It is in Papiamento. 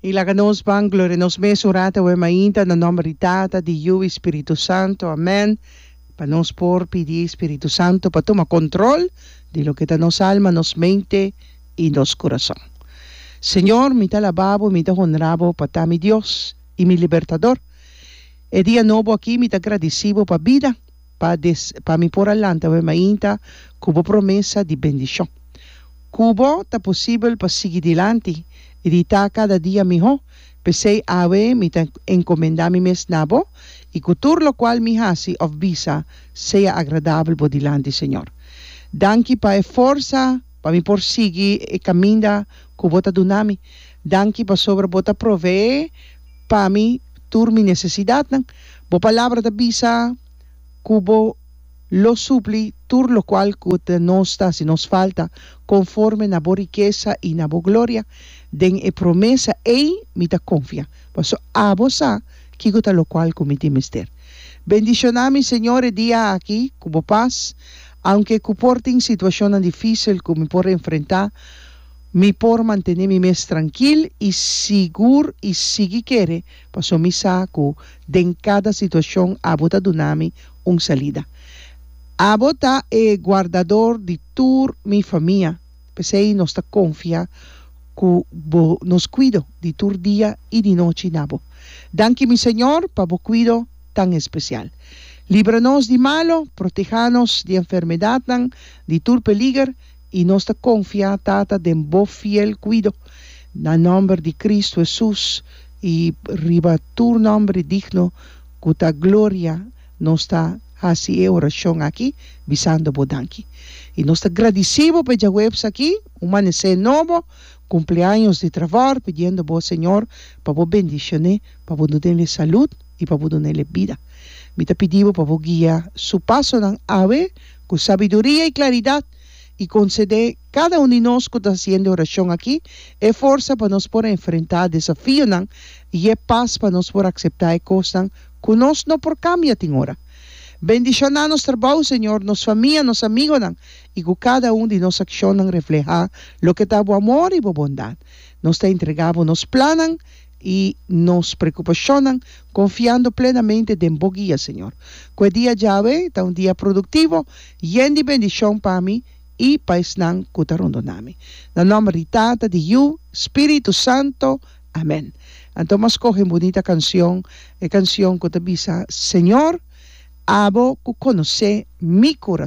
I laga nos ban gloria nos mes un rato awe mainta na nomber di Tata, di Yu i Spiritu Santo. Amen. Pa nos por pidi Spiritu Santo pa tuma control di loke ta nos alma, nos mente i nos curason. Señor, mi ta alaba bo, mi ta honra bo pa ta mi Dios i mi Libertador. E dia nobo aki mi ta gradici bo pa bida, pa des pa mi por a lanta awe mainta cu bo promesa di bendicion. Ku bo ta posibel pa sigui dilanti i di ta kada dia mihó. P'esei awe mi ta enkomendá mi mes na bo i ku tur lokual mi hasi òf bisa sea agradabel bo dilanti, Señor. Danki pa e forsa pa mi por sigui e kaminda ku bo ta duna mi. Danki pasobra bo ta proveé pa mi tur mi nesesidatnan. Bo palabra ta bisa ku bo. Lo supli tur locual cu ta nos ta haci nos falta, conforme na bo rikesa y na bo gloria. Den e promesa ey mi ta confia, paso abo sa kico ta locual cu mi tin mester. Bendiciona mi, Señor, e dia aki cu bo pas, aunke cu por tin situacionnan dificil cu mi por enfrenta, mi por mantene mi mes trankil y sigur y sigui kere, paso mi sa cu den cada situacion abo ta duna mi un salida. Abo ta e guardador di tur mi famia, p'esei nos ta konfia ku bo nos kuido di tur dia i di nochi na bo. Danki mi Señor pa bo kuido tan espesial. Libra nos di malo, proteha nos di enfermedatnan, di tur peliger, i nos ta konfia Tata den bo fiel kuido. Na nòmber di Kristu Hesus i riba tur nòmber digno Ku ta gloria nos ta hasi e orashon aki bisando bo danki. I nos ta gradisí bo pa e djaweps aki, un manesé nobo, kumpleaños di Trevor, pidiendo bo, Señor, pa bo bendishoné, pa bo dun'é salud i pa bo dun'é bida. Mi ta pidi bo pa bo guia su pasonan awe ku sabiduria i klaridat i konsedé kada un di nos ku ta hasiendo e orashon aki e forsa pa nos por enfrentá desafionan i e pas pa nos por akseptá e kosnan ku nos no por kambia tin ora. Bendishoná nos trabou, Señor, nos famia, nos amigonan, i ku kada un di nos akshonnan reflehá loke ta bo amor i bo bondat. Nos ta entregá bo nos plannan i nos preokupashonnan, konfiando plenamente den bo guia, Señor. Ku e dia djawe ta un dia produktivo, yen di bendishon pa mi i pa esnan ku ta rondoná mi. Na nòmber di Tata, di Yu, Spiritu Santo. Amen. Anto m'a skohe un bunita kansion, e kansion ku ta bisa, Señor, abo ku konosé mi kurason.